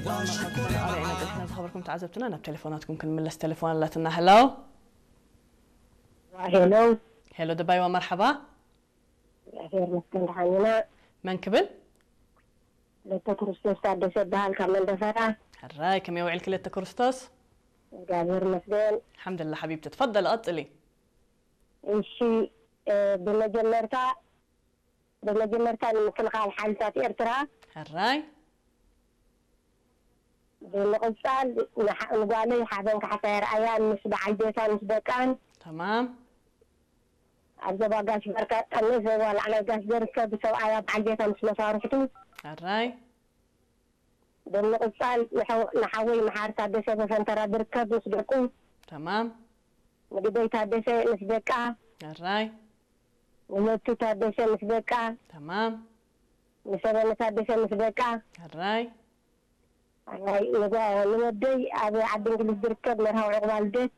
መርሓባ፣ መርሓባ፣ መርሓባ። ዝኸበርኩም ተዓዘብትና፣ ናብ ቴሌፎናትኩም ክንምለስ። ቴሌፎን ኣላትና። ሄሎ። ሄሎ። ሄሎ፣ ደባይዋ፣ መርሓባ። እግዚኣብሔር ይመስገን፣ ደሓን ኢና። መን ክብል? ለተ ክርስቶስ ታደሰ ይበሃል፣ ካብ መንደፈራ። ሕራይ፣ ከመይ ውዒልኪ ለተ ክርስቶስ? እግዚኣብሔር ይመስገን። ሓምድላ ሓቢብቲ፣ ትፈደሊ፣ ቀጽሊ። እሺ፣ እ፣ ብመጀመርታ ብመጀመርታ ንምክልኻል ሓይልታት ኤርትራ፣ ሕራይ። ብምቕጻል ንሓ- ንጓለይ ሓበን ካሕሳይ ኣርኣያን ምስ በዓል ቤታን ምስ ደቃን፣ ተማም። ኣብ ዞባ ጋሽ ባርካ ጠሜ፣ ዞባ ላዕላይ ጋሽ ዘርከብ፣ ሰብኣያ በዓል ቤታ ምስ መሳርሕቱ፣ ሕራይ። ብምቕጻል ንሐው- ንሓወይ መሓር ታደሰ በፈንተራ ዝርከብ ምስ ደቁ፣ ተማም። ንግደይ ታደሰ ምስ ደቃ፣ ሕራይ። ንመቱ ታደሰ ምስ ደቃ፣ ተማም። ንሰበነ ታደሰ ምስ ደቃ፣ ሕራይ። ኣይ፣ ንጓ- ንወደይ ኣብ ዓዲ እንግሊዝ ዝርከብ መርሃዊ ዕቑባ ልደት፣